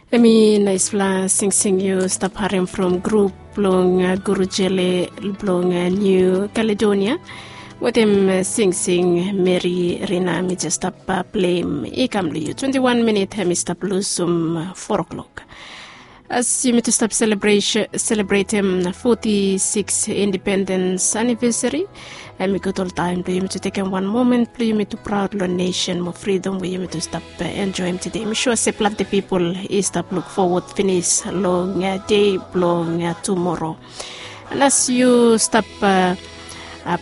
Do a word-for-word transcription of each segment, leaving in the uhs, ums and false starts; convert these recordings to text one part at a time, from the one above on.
Hemi naispela singsing yu stap harim from grup blong Guru Jele blong New Caledonia, wetem singsing Meri Rina mi jes stap pleim i kam long yu. Twenti wan minit hemi stap lusum foa klok. As yumi tu stap selebretem foti siks indipendens anivesari, hemi gud oltaem blong yumi tu tekem wan momen blong yumi tu praod long nesen mo fridom we yumi tu stap enjoem tede. Mi sua se plante pipol i stap luk fowod finis long dei blong tumoro. As yu stap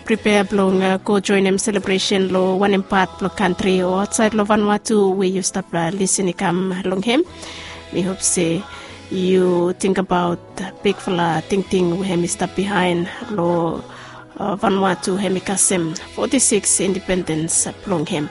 pripea blong go joenem selebresen long wanem pat blong kantri o aotsaed long Vanuatu we yu stap lisin i kam long hem, mi hop se yu tingbaot bigfala tingting we hem i stap bihaen long Vanuatu hem i kasem foti siks indipendens blong hem.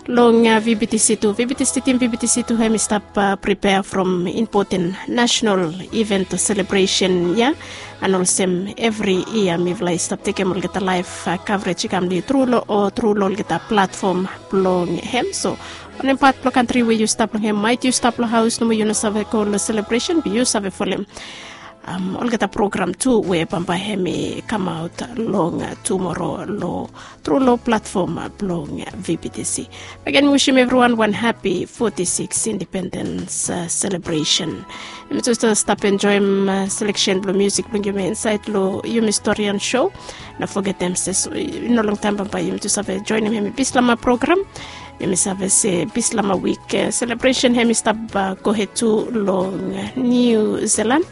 Long VBTC tu, VBTC tim VBTC tu hem i stap pripea from impoten nasenal iven o selebresen ya. An olsem evri yia mifala i stap tekem olgeta laef kavrej i kam long yu tru long o tru long olgeta platfom blong hem. So wanem pat blong kantri we yu stap long hem, maet yu stap long haos nomo yu no save go long selebresen, be yu save folem olgeta program tu we bambae hem i kamaot long tumoro long tru long platfom blong VBTC. Bagen mi wisim evriwan wan hapi foti siks indipendens selebresen. Yumi tu stap enjoem seleksen blong musik blong yumi insaed long yumi storian sho. No fogetem se i no longtaem bambae yumi tu save joenem hem i Bislama program. Yumi save se Bislama wik selebresen hem i stap gohed tu long Niu Zilan.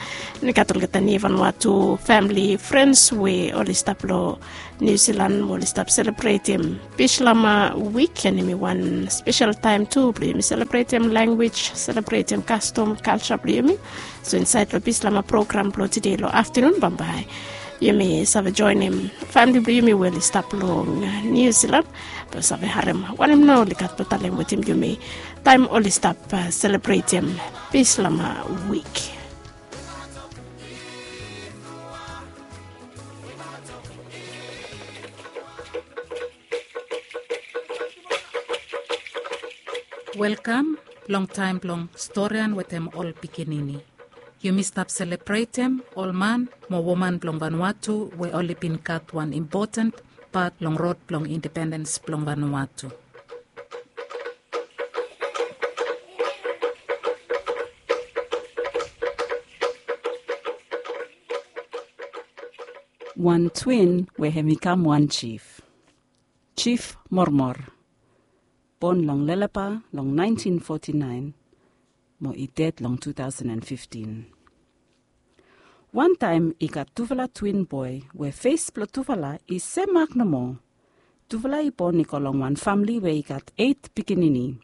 I gat olgeta Niu Vanuatu famili frens we oli stap long Niu Zilan mo oli stap selebretem Bislama wik, an hemi wan spesel taem tu blong yumi selebretem lanwis, selebretem kastom, kalja blong yumi. So insaed long Bislama program blong tede long aftanun bambae yumi save joenem famili blong yumi we oli stap long Niu Zilan blong save harem wanem nao oli gat blong talem wetem yumi taem oli stap selebretem Bislama wik. Welkam long taem blong storian wetem ol pikinini. Yumi stap selebretem ol man mo woman blong Vanuatu we oli bin gat wan impoten pat long rod blong indipendens blong Vanuatu. Wan twin we hem i kam wan jif. Jif Mormor. Bon long Lelepa long naentin foti naen mo i ded long tu taosen an fiftin. Wantaem i gat tufala twin boe we fes blong tufala i semak nomo. Tufala i bon i go long wan famili we i gat eit pikinini.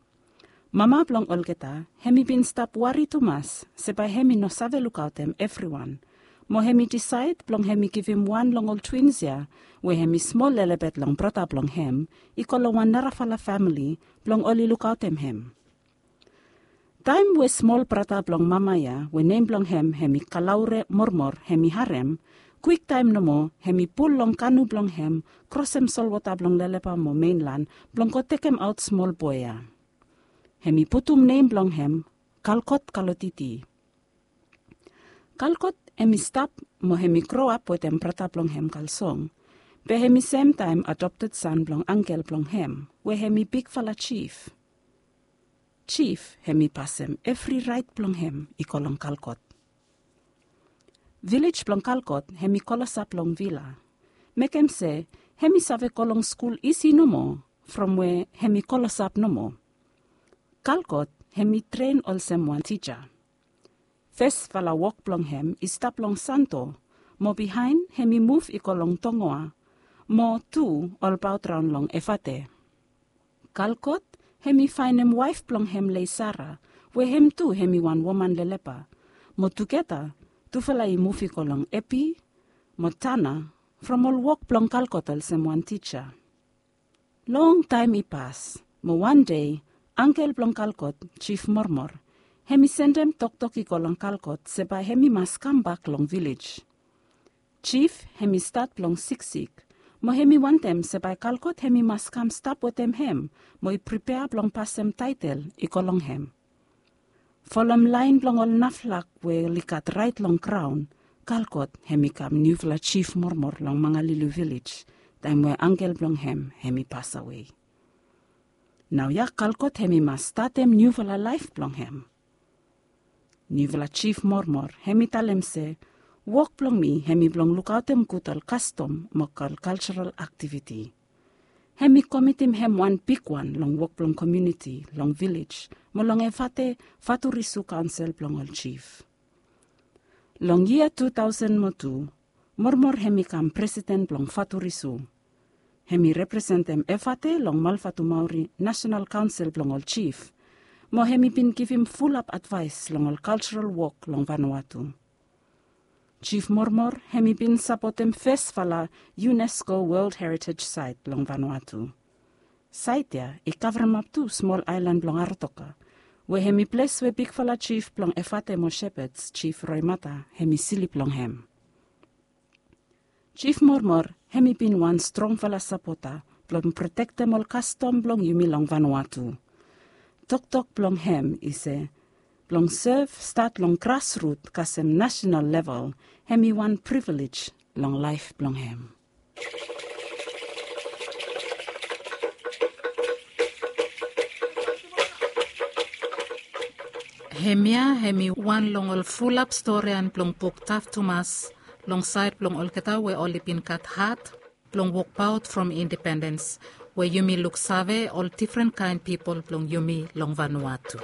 Mama blong olgeta hem i bin stap wari tumas se bae hem i no save lukaotem evriwan, mo hem i disaed blong hem i givim wan long ol twins ya we hem i smol lelebet long brata blong hem i go long wan narafala famili blong oli lukaotem hem. Taem we smol brata blong mama ya we nem blong hem hem i Kalaure Mormor hem i harem, kwiktaem nomo hem i pul long kanu blong hem krosem solwota blong Lelepa mo Menlan blong go tekemaot smol boe ya. Hem i putum nem blong hem Kalkot Kalotiti. Kalkot hem i stap mo hem i groap wetem brata blong hem Kalsong, be hem i semtaem adopted san blong angkel blong hem we hem i bigfala jif. Jif hem i pasem evri raet blong hem i go long Kalkot. Vilej blong Kalkot hem i klosap long vila, mekem se hem i save go long skul isi nomo from we hem i klosap nomo. Kalkot hem i tren olsem wan tija. Fesfala wok blong hem i stap long Santo, mo bihaen hem i muv i go long Tongoa, mo tu olbaot raon long Efate. Kalkot hem i faenem waef blong hem Leisara, we hem tu hem i wan woman Lelepa, mo tugeta tufala i muv i go long Epi mo Tana from ol wok blong Kalkot olsem wan tija. Longtaem i pas, mo wan dei angkel blong Kalkot, Jif Mormor, hem i sendem toktok i go long Kalkot se bae hem i mas kambak long vilej. Jif hem i stat blong siksik, mo hem i wantem se bae Kalkot hem i mas kam stap wetem hem mo i pripea blong pasem taetel i go long hem. Folom laen blong ol naflak we oli gat raet long graon, Kalkot hem i kam niufala jif mormor long Mangalili vilej, taem we angkel blong hem hem i pasawe. Naoia Kalkot hem i mas statem niufala laef blong hem. Niufala jif mormor hem i talem se, wok blong mi hem i blong lukaotem gud ol kastom mo ol kaljaral aktiviti. Hem i komitim hem wan bigwan long wok blong komuniti long vilej mo long Efate Faturisu Kaonsel blong ol Jif. Long yia tu taosen mo tu, Mormor hem i kam presiden blong Faturisu. Hem i representem Efate long Malfatumauri Nasenal Kaonsel blong ol Jif, mo hem i bin givim fulap advaes long ol kaljaral wok long Vanuatu. Jif Mormor hem i bin sapotem fesfala UNESCO World Heritage Site long Vanuatu. Saet ya i kavremap tu smol aelan blong Aratoka, we hem i ples we bigfala jif blong Efate mo Shepherds, Jif Roimata, hem i slip long hem. Jif Mormor hem i bin wan strongfala sapota blong protektem ol kastom blong yumi long Vanuatu. Toktok blong hem i se, blong sev stat long grasrut kasem nasenal level, hem i wan privilej long laef blong hem. Hemia hem i wan long ol fulap storian blong buk Taf Tumas, long saed blong olgeta we oli bin gat hat blong wokbaot from independens, we yumi luksave ol difren kaen pipol blong yumi long Vanuatu.